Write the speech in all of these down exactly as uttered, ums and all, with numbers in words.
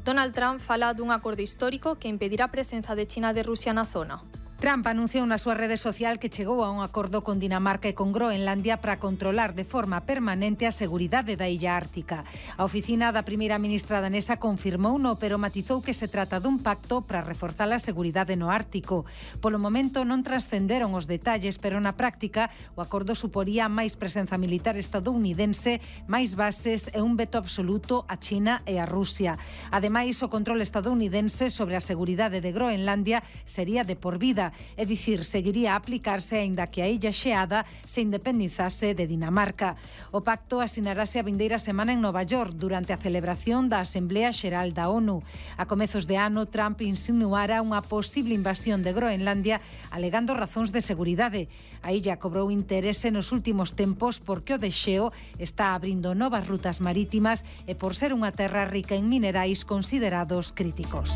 Donald Trump fala dun acordo histórico que impedirá a presenza de China e de Rusia na zona. Trump anunciou na súa rede social que chegou a un acordo con Dinamarca e con Groenlandia para controlar de forma permanente a seguridade da illa ártica. A oficina da primeira ministra danesa confirmouno, pero matizou que se trata dun pacto para reforzar a seguridade no Ártico. Polo momento non trascenderon os detalles, pero na práctica o acordo suporía máis presenza militar estadounidense, máis bases e un veto absoluto a China e a Rusia. Ademais, o control estadounidense sobre a seguridade de Groenlandia sería de por vida. É dicir, seguiría a aplicarse aínda que a illa xeada se independizase de Dinamarca. O pacto asinarase a vindeira semana en Nova York durante a celebración da Asamblea Xeral da ONU. A comezos de ano, Trump insinuara unha posible invasión de Groenlandia alegando razóns de seguridade. A illa cobrou interese nos últimos tempos porque o desxeo está abrindo novas rutas marítimas e por ser unha terra rica en minerais considerados críticos.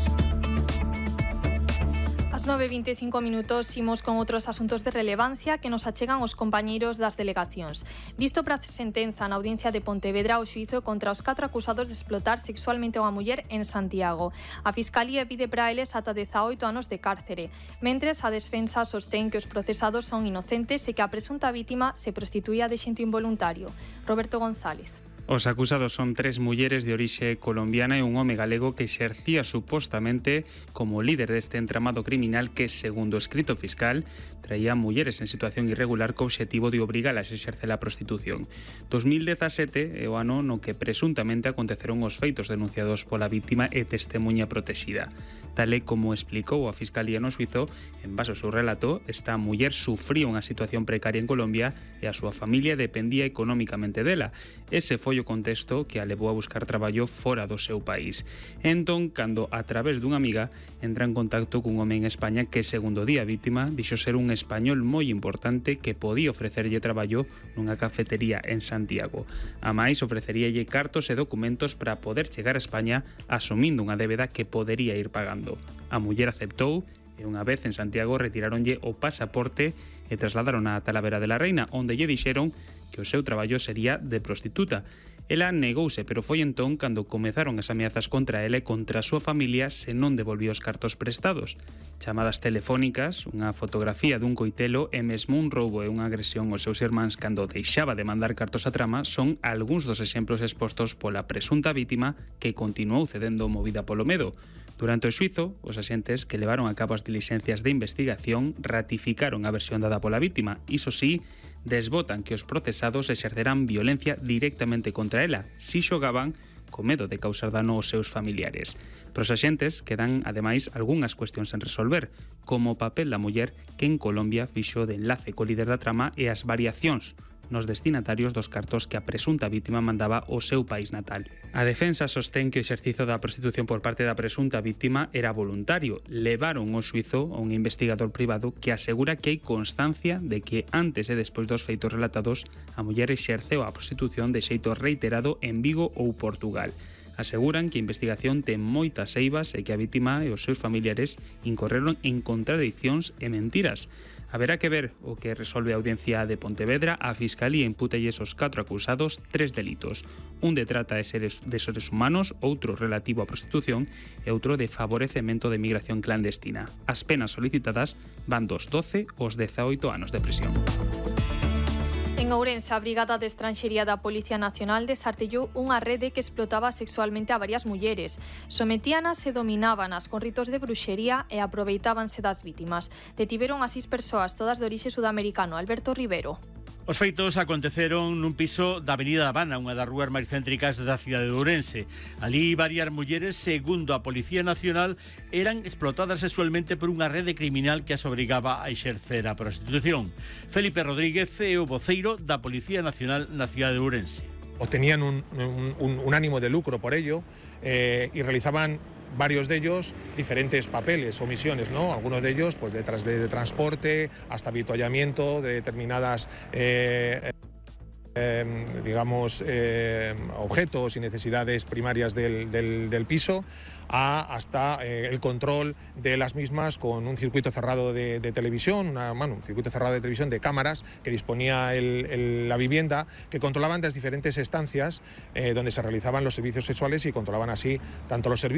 As nove e vinte e cinco minutos imos con outros asuntos de relevancia que nos achegan os compañeiros das delegacións. Visto para a sentenza na audiencia de Pontevedra o xuízo contra os catro acusados de explotar sexualmente a unha muller en Santiago. A Fiscalía pide para eles ata dezaoito anos de cárcere, mentres a defensa sostén que os procesados son inocentes e que a presunta vítima se prostituía de xeito involuntario. Roberto González. Os acusados son tres mulleres de orixe colombiana e un home galego que exercía supostamente como líder deste entramado criminal que, segundo o escrito fiscal, traía mulleres en situación irregular co obxectivo de obrigalas a exercer a prostitución. dos mil dezasete é o ano no que presuntamente aconteceron os feitos denunciados pola vítima e testemunha protexida. Tal e como explicou a Fiscalía no xuízo, en base ao seu relato, esta muller sufría unha situación precaria en Colombia e a súa familia dependía económicamente dela. Ese foi o contexto que a levou a buscar traballo fora do seu país. Entón, cando a través dunha amiga entra en contacto cun home en España que, segundo di a vítima, dixo ser un español moi importante que podía ofrecerlle traballo nunha cafetería en Santiago. A máis, ofreceríalle cartos e documentos para poder chegar a España asumindo unha débeda que podería ir pagando. A muller aceptou e unha vez en Santiago retiráronlle o pasaporte e trasladaron a Talavera de la Reina, onde lle dixeron que o seu traballo sería de prostituta. Ela negouse, pero foi entón cando comezaron as ameazas contra ela e contra a súa familia se non devolvía os cartos prestados. Chamadas telefónicas, unha fotografía dun coitelo e mesmo un roubo e unha agresión aos seus irmáns cando deixaba de mandar cartos a trama son algúns dos exemplos expostos pola presunta vítima que continuou cedendo movida polo medo. Durante o xuízo, os axentes que levaron a cabo as dilixencias de investigación ratificaron a versión dada pola vítima. Iso sí, desbotan que os procesados exercerán violencia directamente contra ela, si xogaban co medo de causar dano aos seus familiares. Pros axentes quedan, ademais, algunhas cuestións en resolver, como o papel da muller que en Colombia fixo de enlace co líder da trama e as variacións nos destinatarios dos cartos que a presunta vítima mandaba ao seu país natal. A defensa sostén que o exercizo da prostitución por parte da presunta vítima era voluntario. Levaron ao xuízo a un investigador privado que asegura que hai constancia de que antes e despois dos feitos relatados a muller exerceu a prostitución de xeito reiterado en Vigo ou Portugal. Aseguran que a investigación ten moitas eivas e que a vítima e os seus familiares incorreron en contradiccións e mentiras. Haberá que ver o que resolve a audiencia de Pontevedra. A Fiscalía impútalles os catro acusados tres delitos. Un de trata de seres, de seres humanos, outro relativo á prostitución e outro de favorecemento de migración clandestina. As penas solicitadas van dos doce aos dezaoito anos de prisión. En Ourense, a Brigada de Estranxería da Policía Nacional desartellou unha rede que explotaba sexualmente a varias mulleres. Sometíanas e dominábanas con ritos de bruxería e aproveitábanse das vítimas. Detiveron a seis persoas, todas de orixe sudamericano. Alberto Rivero. Os feitos aconteceron nun piso da Avenida Habana, unha das rúas máis céntricas da cidade de Ourense. Alí varias mulleres, segundo a Policía Nacional, eran explotadas sexualmente por unha rede criminal que as obrigaba a exercer a prostitución. Felipe Rodríguez é o voceiro da Policía Nacional na cidade de Ourense. Obtenían un, un, un ánimo de lucro por ello eh, y realizaban varios de ellos diferentes papeles o misiones, ¿no? Algunos de ellos pues detrás de, de transporte hasta avituallamiento de determinadas eh, eh, digamos eh, objetos y necesidades primarias del, del, del piso, a hasta eh, el control de las mismas con un circuito cerrado de, de televisión, una, bueno, un circuito cerrado de televisión de cámaras que disponía el, el, la vivienda, que controlaban las diferentes estancias eh, donde se realizaban los servicios sexuales y controlaban así tanto los servicios